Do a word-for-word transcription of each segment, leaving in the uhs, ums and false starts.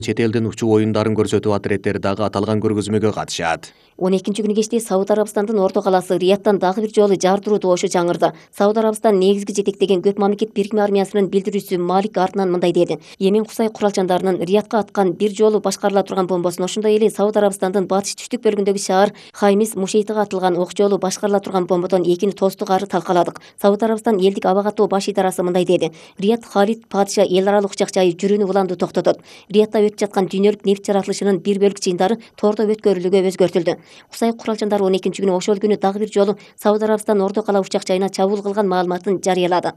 Чет элдин учуу оюндарын көрсөтүү атлеттери дагы аталган көргөзмөгө катышат. он экинчи күнү кечте Сауд Арабстандын орто калаасы Риядтан дагы бир жолу жардыруу добушу жаңырды. Сауд Арабстан негизги жетектеген көп мамлекет бирикме армиясынын билдирүүчүсү Малик артынан мындай деди: Йемен Кусай куралчандарынын Риядка аткан бир жолу башкарыла турган бомбосун, ошондой эле Сауд Арабстандын батыш түштүк бөлүгүндөгү шаар Хаймис Мушейтиге атылган ок жолу башкарыла турган бомбодон экини тостук ары талкаладык. Сауд Арабстан элдик аба каттоо баш идарасы мындай деди: Рият Халид падыша эл аралык учак жайы жүрүүнү уланды токтотот. Риядта өтүп жаткан дүйнөлүк нефть жаратылышынын бир бөлүк чыйындары тордо өткөрүлүүгө өзгөртүлдү. Кусай куралчандары он экинчи күнү ошол күнү дагы бир жолу Сауд Арабстан орто кала учак жайына чабуул кылган маалыматын жарыялады.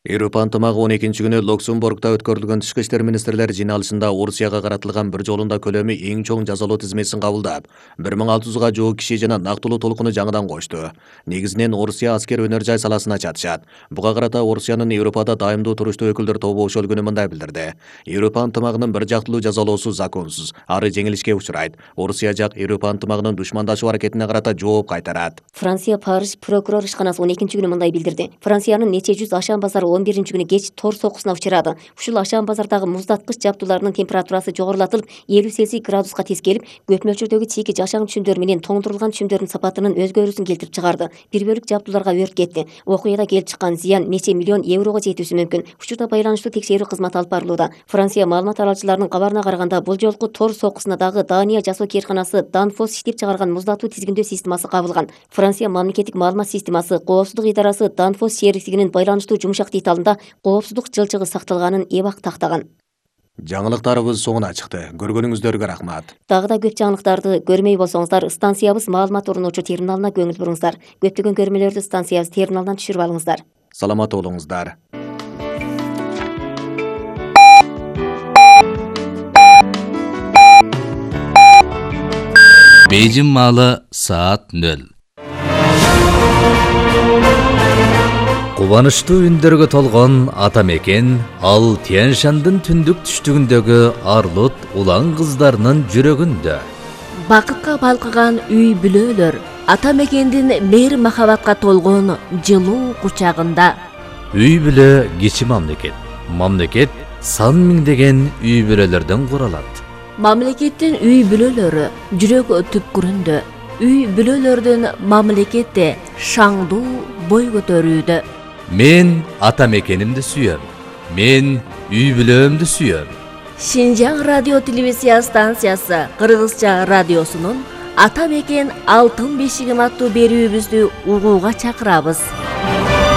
Европа ынтымагы он экинчи күнү Люксембургда өткөрүлгөн тышкы иштер министрлер жыйналышында Орусияга каратылган бир жолунда көлөмү эң чоң жазалоо тизмесин кабылдап, бир миң алты жүзгө жуук киши жана нактылуу толкуну жаңыдан кошту. Негизинен Орусия аскер өнөр жай саласына чатышат. Буга карата Орусиянын Европада дайымдуу туруштуу өкүлдөр тобу ошол күнү мындай билдирди: Европа ынтымагынын бир жактылуу жазалоосу законсуз, ары жеңилишке учурайт. Орусия жак Европа ынтымагынын душмандашуу аракетине карата жооп кайтарат. Франция Париж прокурор ишканасы он экинчи күнү мындай билдирди: Франциянын нече жүз ашан базары он биринчи күнү кеч тор соккусуна учурады. Ушул ашан базардагы муздаткыч жабдууларынын температурасы жогорулатылып, элүү Цельсий градуска тескелип, көп мөлчөрдөгү чийки жашаң түшүмдөр менен тоңдурулган түшүмдөрдүн сапатынын өзгөрүүсүн келтирип чыгарды. Бир бөлүк жабдууларга өрт кетти. Окуяда келип чыккан зыян нече миллион еврого жетүүсү мүмкүн. Учурда байланыштуу текшерүү кызматы алып барылууда. Франция маалымат аралчыларынын кабарына караганда, бул жолку тор соккусуна дагы Дания жасоо кээрканасы Danfoss иштеп чыгарган муздатуу тизгиндөө системасы кабылган. Франция мамлекеттик маалымат системасы коопсуздук идарасы Danfoss сервисигинин байланыштуу жумшак деталында коопсуздук жылчыгы сакталганын эбак тактаган. Жаңылыктарыбыз соңуна чыкты. Көргөнүңүздөргө рахмат. Дагы да көп жаңылыктарды көрмөй болсоңуздар, станциябыз маалымат орночу терминалына көңүл буруңуздар. Көптөгөн көрмөлөрдү станциябыз терминалынан түшүрүп алыңыздар. Саламат болуңуздар. Бейжин маалы саат нөл. Кубанычтуу үндөргө толгон ата мекен ал Тянь-Шандын түндүк түштүгүндөгү арлут улан кыздарынын жүрөгүндө. Бакытка балкыган үй бүлөлөр ата мекендин мейир махабатка толгон жылуу кучагында. Үй бүлө кичи мамлекет. Мамлекет сан миңдеген үй бүлөлөрдөн куралат. Мамлекеттин үй бүлөлөрү жүрөк түпкүрүндө. Үй бүлөлөрдүн мамлекетте шаңдуу бой көтөрүүдө. Мен ата мекенимди сүйөм. Мен үй бүлөмдү сүйөм. Шинжаң радио телевизия станциясы Кыргызча радиосунун Ата мекен алтын бешигим аттуу берүүбүздү угууга чакырабыз.